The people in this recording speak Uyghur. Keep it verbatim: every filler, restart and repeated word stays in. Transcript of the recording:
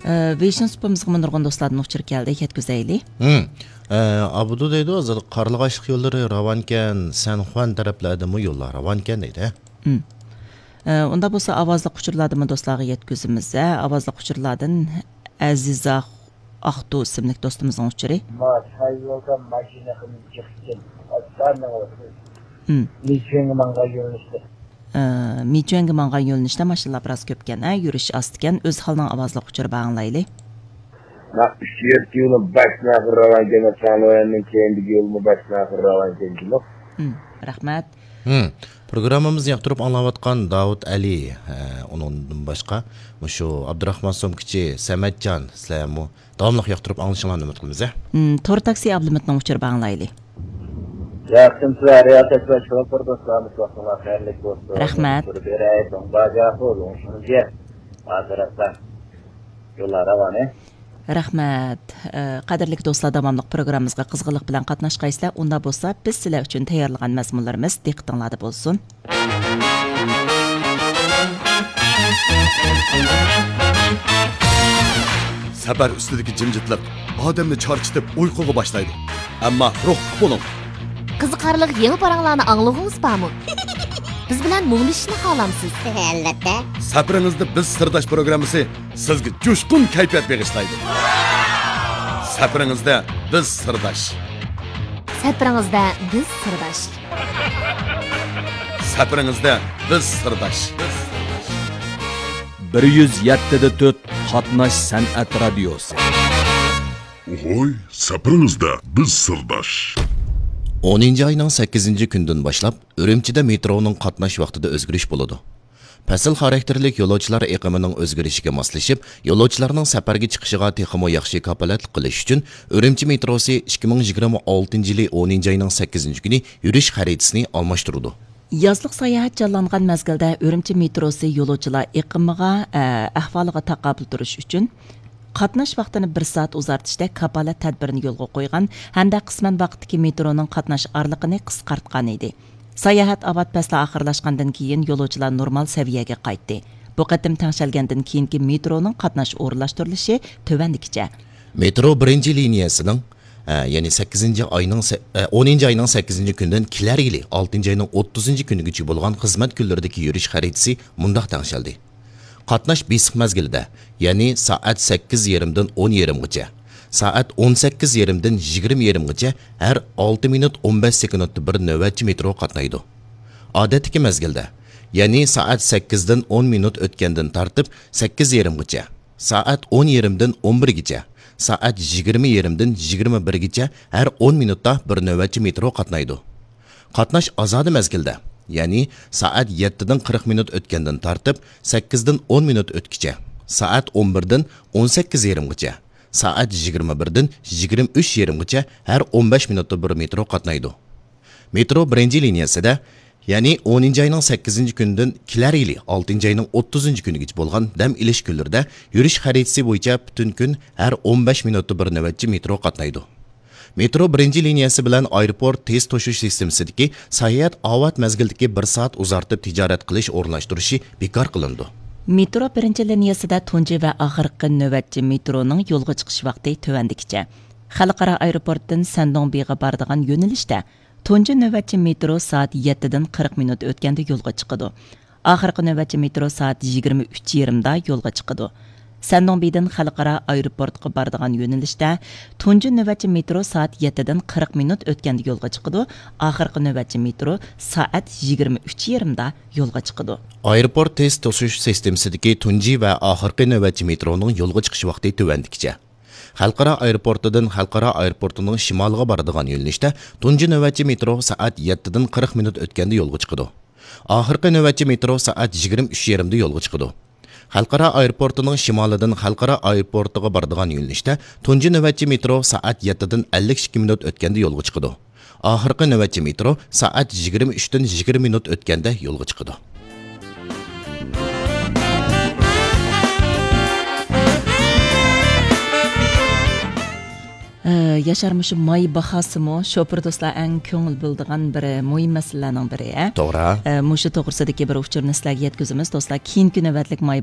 ئە، ۋېيشىن سۇپىمىزغىمۇ نۇرغۇن دوستلاردىن ئۇچۇر كەلدى، يەتكۈزەيلى. ھىم. ئە، ئابدۇ دەيدۇ، ھازىر قارلىغاچلىق يوللىرى راۋانكەن، سەنخۇەن تەرەپلەردىمۇ يوللار راۋانكەن دەيدۇ. ھىم. ئە، ئۇنداق بولسا ئاۋازلىق ئۇچۇرلاردىنمۇ دوستلارغا يەتكۈزىمىز. ئە، ئاۋازلىق ئۇچۇرلاردىن ئەزىزا ئاقتۇ ئىسىملىك دوستىمىزنىڭ ئۇچۇرى. ما، تايۋاندا ماشىنا قىلىپ چىقتىم. ئاستا مېڭىۋاتىمىز. ھىم. مىچۈەنگە ماڭغان يۆنىلىشتە. ئە، مىچۈەنگە ماڭغان يۆنىلىشتە ماشىنىلار بىراز كۆپكەن، ھە، يۈرۈش ئاستىكەن. ئۆزھالنىڭ ئاۋازلىق ئۇچۇرى بار، ئاڭلايلى. مانا ئۈچ يەتتە يولى باشتىن ئاخىر راۋانكەن، چاڭلۇەننىڭ كەينىدىكى يولمۇ باشتىن ئاخىر راۋانكەن جۇمۇ. ھىم، رەھمەت. ھىم. پروگراممىمىزنى ياقتۇرۇپ ئاڭلاۋاتقان داۋۇت ئەلى، ھە، ئۇنىڭدىن باشقا مۇشۇ ئابدۇراخمان سومكىچى، سەمەتجان، سىلەرمۇ داۋاملىق ياقتۇرۇپ ئاڭلىشىڭلارنى ئۈمىد قىلىمىز، ھە. ھىم، تور تاكسى ئابلىمىتنىڭ ئۇچۇرى بار، ئاڭلايلى. ياخشىمۇسىلەر، رىياسەت باشلىقى، بىر دوستلار، ۋاقتىڭلار خەيرلىك بولسۇن. رەھمەت. ئۇچۇر بېرەي، دۇڭباجا، خۇلۇڭشۇڭجيە. ھازىر ئاستا يوللار راۋانە. رەھمەت. ئە، قەدىرلىك دوستلار، داۋاملىق پروگراممىمىزغا قىزغىنلىق بىلەن قاتناشقايسىلەر. ئۇنداق بولسا، بىز سىلەر ئۈچۈن تەييارلىغان مەزمۇنلىرىمىز دىققىتىڭلاردا بولسۇن. سەپەر ئۈستىدىكى جىمجىتلىق ئادەمنى چارچىتىپ ئۇيقۇغا باشلايدۇ. ئەمما روھلۇق بولۇڭ. قىزىقارلىق يېڭى پاراڭلارنى ئاڭلىغۇڭىز بارمۇ؟ بىز بىلەن مۇڭدىشىشنى خالامسىز؟ ئەلۋەتتە. سەپىرىڭىزدە بىز سىرداش پروگراممىسى سىزگە جۇشقۇن كەيپىيات بېغىشلايدۇ. سەپىرىڭىزدە بىز سىرداش. سەپىرىڭىزدە بىز سىرداش. سەپىرىڭىزدە بىز سىرداش. بىر يۈز يەتتە دە تۆت قاتناش سەنئەت رادىيوسى. ھوي، سەپىرىڭىزدە بىز سىرداش. ئونىنچى ئاينىڭ سەككىزىنچى كۈنىدىن باشلاپ ئۈرۈمچىدە مېترونىڭ قاتناش ۋاقتىدا ئۆزگىرىش بولىدۇ. پەسىل خاراكتېرلىك يولۇچىلار ئېقىمىنىڭ ئۆزگىرىشىگە ماسلىشىپ، يولۇچىلارنىڭ سەپەرگە چىقىشىغا تېخىمۇ ياخشى كاپالەتلىك قىلىش ئۈچۈن، ئۈرۈمچى مېتروسى ئىككى مىڭ يىگىرمە ئالتىنچى يىلى ئونىنچى ئاينىڭ سەككىزىنچى كۈنى يۈرۈش خەرىتىسىنى ئالماشتۇرىدۇ. يازلىق ساياھەت جانلانغان مەزگىلدە ئۈرۈمچى مېتروسى يولۇچىلار ئېقىمىغا، ئە، ئەھۋالىغا تاقابىل تۇرۇش ئۈچۈن، قاتناش ۋاقتىنى بىر سائەت ئۇزارتىشتەك كاپالەت تەدبىرىنى يولغا قويغان ھەمدە قىسمەن ۋاقىتتىكى مېترونىڭ قاتناش ئارىلىقىنى قىسقارتقان ئىدى. ساياھەت ئاۋات پەسلى ئاخىرلاشقاندىن كېيىن يولۇچىلار نورمال سەۋىيەگە قايتتى. بۇ قېتىم تەڭشەلگەندىن كېيىنكى مېترونىڭ قاتناش ئورۇنلاشتۇرۇلۇشى تۆۋەندىكىچە. مېترو بىرىنچى لىنىيەسىنىڭ، ئە، يەنى سەككىزىنچى ئاينىڭ سە-، ئە، ئونىنچى ئاينىڭ سەككىزىنچى كۈنىدىن كېلەر يىلى ئالتىنچى ئاينىڭ ئوتتۇزىنچى كۈنىگىچە بولغان خىزمەت كۈنلىرىدىكى يۈرۈش خەرىتىسى مۇنداق تەڭشەلدى. قاتناش بېسىق مەزگىلىدە، يەنى سائەت سەككىز يېرىمدىن ئون يېرىمغىچە، سائەت ئون سەككىز يېرىمدىن يىگىرمە يېرىمغىچە ھەر ئالتە مىنۇت ئون بەش سېكۇنتتا بىر نۆۋەتچى مېترو قاتنايدۇ. ئادەتتىكى مەزگىلدە، يەنى سائەت سەككىزدىن ئون مىنۇت ئۆتكەندىن تارتىپ سەككىز يېرىمغىچە، سائەت ئون يېرىمدىن ئون بىرگىچە، سائەت يىگىرمە يېرىمدىن يىگىرمە بىرگىچە ھەر ئون مىنۇتتا بىر نۆۋەتچى مېترو قاتنايدۇ. قاتناش ئازادە مەزگىلدە، يەنى سائەت يەتتىدىن قىرىق مىنۇت ئۆتكەندىن تارتىپ سەككىزدىن ئون مىنۇت ئۆتكىچە، سائەت ئون بىردىن ئون سەككىز يېرىمغىچە، سائەت يىگىرمە بىردىن يىگىرمە ئۈچ يېرىمغىچە ھەر ئون بەش مىنۇتتا بىر مېترو قاتنايدۇ. مېترو بىرىنچى لىنىيەسىدە، يەنى ئونىنچى ئاينىڭ سەككىزىنچى كۈنىدىن كېلەر يىلى ئالتىنچى ئاينىڭ ئوتتۇزىنچى كۈنىگىچە بولغان دەم ئېلىش كۈنلىرىدە يۈرۈش خەرىتىسى بويىچە پۈتۈن كۈن ھەر ئون بەش مىنۇتتا بىر نۆۋەتچى مېترو قاتنايدۇ. مېترو بىرىنچى لىنىيەسى بىلەن ئايروپورت تېز توشۇش سىستېمىسىدىكى ساياھەت ئاۋات مەزگىلدىكى بىر سائەت ئۇزارتىپ تىجارەت قىلىش ئورۇنلاشتۇرۇشى بىكار قىلىنىدۇ. مېترو بىرىنچى لىنىيەسىدە تۇنجى ۋە ئاخىرقى نۆۋەتچى مېترونىڭ يولغا چىقىش ۋاقتى تۆۋەندىكىچە. خەلقئارا ئايروپورتتىن سەندۇڭبىغا بارىدىغان يۆنىلىشتە تۇنجى نۆۋەتچى مېترو سائەت يەتتىدىن قىرىق مىنۇت ئۆتكەندە يولغا چىقىدۇ. ئاخىرقى نۆۋەتچى مېترو سائەت يىگىرمە ئۈچ يېرىمدا يولغا چىقىدۇ. سەندۇڭبىدىن خەلقئارا ئايروپورتقا بارىدىغان يۆنىلىشتە تۇنجى نۆۋەتچى مېترو سائەت يەتتىدىن قىرىق مىنۇت ئۆتكەندە يولغا چىقىدۇ. ئاخىرقى نۆۋەتچى مېترو سائەت يىگىرمە ئۈچ يېرىمدا يولغا چىقىدۇ. ئايروپورت تېز توشۇش سىستېمىسىدىكى تۇنجى ۋە ئاخىرقى نۆۋەتچى مېترونىڭ يولغا چىقىش ۋاقتى تۆۋەندىكىچە. خەلقئارا ئايروپورتىدىن خەلقئارا ئايروپورتىنىڭ شىمالىغا بارىدىغان يۆنىلىشتە تۇنجى نۆۋەتچى مېترو سائەت يەتتىدىن قىرىق مىنۇت ئۆتكەندە يولغا چىقىدۇ. ئاخىرقى نۆۋەتچى مېترو سائەت يىگىرمە ئۈچ يېرىمدە يولغا چىقىدۇ. خەلقئارا ئايروپورتىنىڭ شىمالىدىن خەلقئارا ئايروپورتىغا بارىدىغان يۆنىلىشتە تۇنجى نۆۋەتچى مېترو سائەت يەتتىدىن ئەللىك ئىككى مىنۇت ئۆتكەندە يولغا چىقىدۇ. ئاخىرقى نۆۋەتچى مېترو سائەت يىگىرمە ئۈچتىن يىگىرمە مىنۇت ئۆتكەندە يولغا چىقىدۇ. ئە، ياشار، مۇشۇ ماي باھاسىمۇ شوپۇر دوستلار ئەڭ كۆڭۈل بۆلىدىغان بىر مۇھىم مەسىلىلەرنىڭ بىرى، ئە؟ توغرا. ئە، مۇشۇ توغرىسىدىكى بىر ئۇچۇرنى سىلەرگە يەتكۈزىمىز، دوستلار. كېيىنكى نۆۋەتلىك ماي